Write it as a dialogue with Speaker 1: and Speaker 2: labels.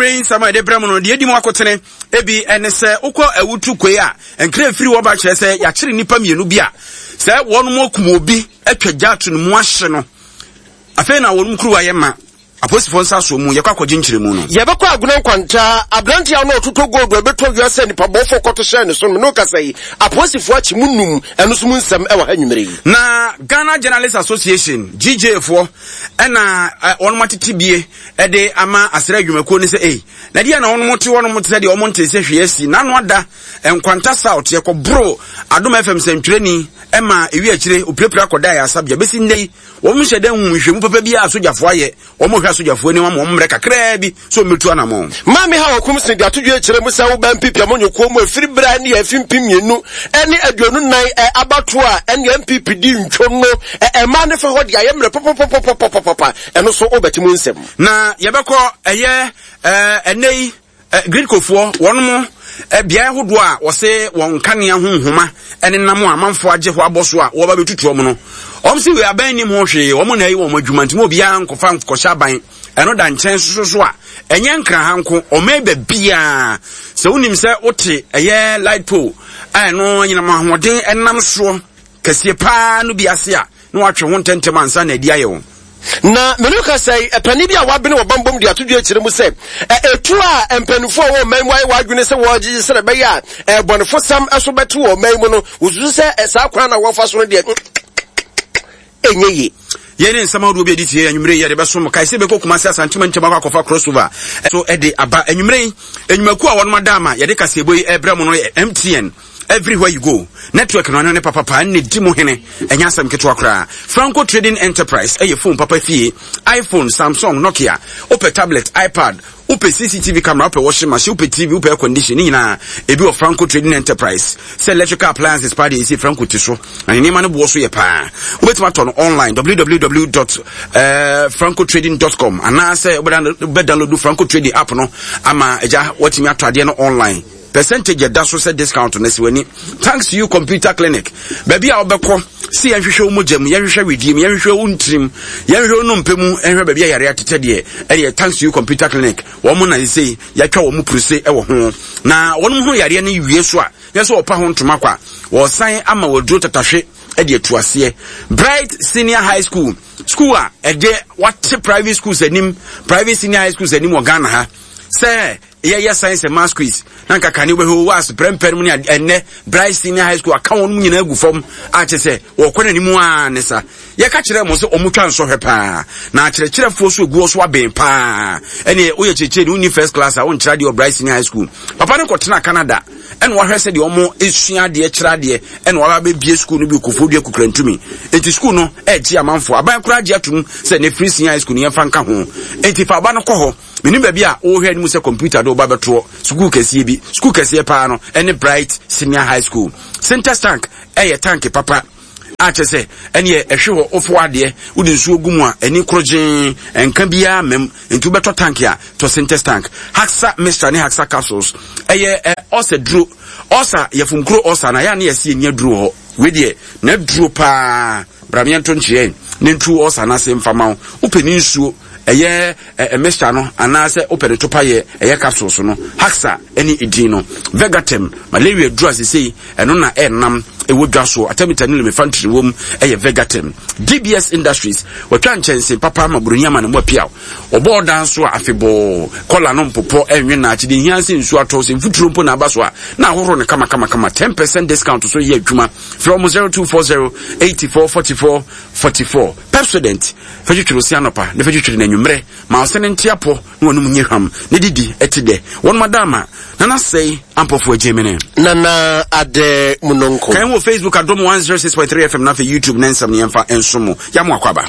Speaker 1: Anwummerɛ yi nsɛm a yɛde brɛ mo no, deɛ ɛdi mu akotene ebi ɛne sɛ wokɔ awutu koe a, nkra efiri hɔ ba kyerɛ sɛ yɛakyere nnipa mmienu bi a sɛ wɔn akum obi atwa gya ato ne mu ahye no. Afei na wɔn kuruwa yɛ ma. Apolisifoɔ nsa soɔ mu, yɛkɔ akɔgye nkyerɛmu no.
Speaker 2: Yɛbɛkɔ Agona Nkwanta, aberanteɛ a na ɔtotɔ gold a ɛbɛtɔ wia sɛ nipabɔfoɔ kɔto hyɛɛ ne so no, me ne wo kasa yi, apolisifoɔ akye mu num, ɛno nso mu nsɛm wɔ ha anwummerɛ yi.
Speaker 1: Na Ghana Journalists Association, GJA foɔ, ɛna wɔnom atete bie de ama asra adwumakuo no sɛ ei, na deɛ na wɔnom te hɔnom te sɛ deɛ wɔn ntee sɛ hwee asi, n'ano ada Nkwanta South, yɛkɔboro Adom FM sɛntwerɛni ma ewi akyire opirapira kɔdaa ayarasabea bɛsi nnɛ yi. Wɔn nhyɛ da nhu nhwehwɛmu papa biara a asogyafoɔ ayɛ. Wɔn hwɛ asogyafoɔ anim ama wɔn mmerɛ kakraa bi sɛ wɔn bɛtu anamɔn.
Speaker 2: Maame Hawa Kumsene de ato dwa kyerɛ mu sɛ woba NPP amanyɔkuo mu ɛfiri berɛ a ɛne afi 2024 abatoɔ a ɛne NPP di ntwo no ɛmaa ne fa hɔ de ayɛ mmerɛ papapapapapapa ɛno so wobɛte mu nsɛm.
Speaker 1: Na yɛbɛkɔ ɛyɛ ɛnɛ yi Gridcofoɔ, wɔnom beaeɛ ahodoɔ a wɔse wɔn nkanea ho nhoma nenam a amanfoɔ agye hɔ abɔ so a wɔba bɛtutu wɔn no, wɔn se wei aban nnim ho hwee, wɔn na ayi wɔn adwuma nti mo obiara nkɔfa nkɔhyɛ aban. Ɛno da nkyɛn soso so a, ɛnyɛ Nkraha nko, ɔman baabiara. Sɛ wonim sɛ wote ɛyɛ light pole a ɛno anyinam ahoɔden ɛnam soɔ kɛseɛ paa no bi ase a, na watwe ho ntɛmntɛm ansa na adi ayɛ wo.
Speaker 2: Na me ne wo kasa yi, panin bi a wabene wɔ bammɔ mu de ato dwa kyerɛ mu sɛ, etuo a mpanimfoɔ a wɔwɔ ɔman mu ayɛ wɔn adwene sɛ wɔregyegye sɛdeɛ ɛbɛyɛ a bɔnefosɛm so bɛte wɔ ɔman mu no, wɔsusu sɛ saa kwan na wɔfa so no deɛ, ɛnyɛ yie.
Speaker 1: Yei ne nsɛm ahodoɔ bi a ɛdi tie anwummerɛ yi yɛde bɛsom mo. Kae sɛ yɛbɛkɔ Kumasi Asante Mantam akɔ akɔfa crossover so de aba anwummerɛ yi. Nnwumakuo a wɔnom ada ama yɛde kaseɛbɔ yi ɛrebrɛ mo no yɛ MTN, Everywhere you go, network no ano ne papapa ɛna di mu hene, ɛnyɛ asɛm ketewa koraa. Franco Trading Enterprise ɛyɛ phone papa fie, iPhone, Samsung, Nokia, wopɛ tablet, iPad, wopɛ CCTV camera, wopɛ washing machine, wopɛ TV, wopɛ air condition, ne nyinaa ebi wɔ Franco Trading Enterprise. Sɛ electrical appliances paa deɛ ɛsɛ Franco ti so, na ne nneɛma no boɔ so yɛ paa. Wobɛtumi atɔ no online www.francotrading.com anaasɛ wobɛdownload Franco Trading app no ama agya watumi atɔ adeɛ no online. Percentage ɛda so sɛ discount no si w'ani. Thanks to you computer clinic. Baabi a wobɛkɔ si yɛnhwehwɛ wo mogya mu, yɛnhwehwɛ wedeɛ mu, yɛnhwehwɛ wo ntirim, yɛnhwehwɛ wo nnompe mu, yɛnhwehwɛ baabi a yare atetɛ deɛ, ɛdeɛ thanks to you computer clinic. Wɔn na sesei yɛatwa wɔn puruse wɔ ho. Na wɔn ho yareɛ no wie so a, yɛ sɛ wɔpa ho ntoma kwa. Wɔsan ama wɔaduro tatahwe de atu aseɛ. Bright Senior High School, school a ɛde wate private schools anim, private senior high schools anim wɔ Ghana ha. Sɛ yɛyɛ science and maths quiz na nka kane wobɛhwɛ wɔ ase prɛmpɛ no mu ne ɛnnɛ Bright Senior High School aka wɔn nyinaa agu fam a kyerɛ sɛ wɔkɔ n'anim a ne sa yɛka kyerɛ mo sɛ wɔn twa nsɔhwɛ paa na akyerɛkyerɛfoɔ so eguɔ so aben paa ɛne woyɛ kyerɛkyerɛ ne wonni first class a wonkyerɛ adeɛ wɔ Bright Senior High School papa no kɔtena Canada ɛna wahwɛ sɛ deɛ wɔn esua adeɛ kyerɛ adeɛ ɛna waba abɛbie school no bi Kofoɔ Dua Kukurantumi nti school no ɛregye amanfoɔ aban koraa gye atum sɛ ne free senior high school no yɛmfa nka ho nti fa aba no kɔ hɔ Menim baabi a wohwɛ anim sɛ kɔmputa de wo ba bɛtoɔ, sukuu kɛseɛ bi. Sukuu kɛseɛ paa no ɛne Bright Senior High School. Sintex tank ɛyɛ tank papa a kyɛ sɛ ɛneɛ ɛhwe hɔ wofo adeɛ wode nsuo gu mu a ɛni korogyen ɛnka biara mmam nti wobɛtɔ tank a tɔ Sintex tank. Haxa mixture ne Haxa capsules ɛyɛ ɛ ɔsa duro ɔsa yɛfomkuro ɔsa na yɛ a ne yɛsi ɛni aduro hɔ wei deɛ na duro paa bra meɛnto nkyeɛ ne ntu ɔsa no ase mfa ma wo wopɛ ne nsuo ɛyɛ ɛ mixture no anaasɛ wopɛ ne topa yɛ ɛyɛ capsules no Haxa ɛne edin no Vegatem malaria duro a sesei ɛno na ɛnam ɛwɔ dwa so artemether ne lumefantrine wom ɛyɛ Vegatem DBS Industries wɔtwa nkyɛnse papa ma buroni ama ne mu apiaw ɔbɔ ɔdan so a afebɔɔ kɔla no mpopɔ ɛnwe na akyede hia sɛ nsuo atɔ sɛ mfuturo mpo na aba so a na ahohoro no kama kama kama 10% discount so yɛ adwuma frɛ wɔn 0240 84 44 44 Pepsodent Fa twitwiri wo se anɔpa, na fa twitwiri no anwummerɛ. Ma wo se no nte apɔ, na w'anom nyɛ hwam, na didi te dɛ. Wɔnom ada ama Nana Sɛe Ampɔfoɔ Agyemene.
Speaker 2: Nana Adɛ Munonko.
Speaker 1: Kan wɔ Facebook Adom 106.3 FM na afei YouTube ne nsɛm no yɛmfa nso mo. Yɛamo akɔ aba.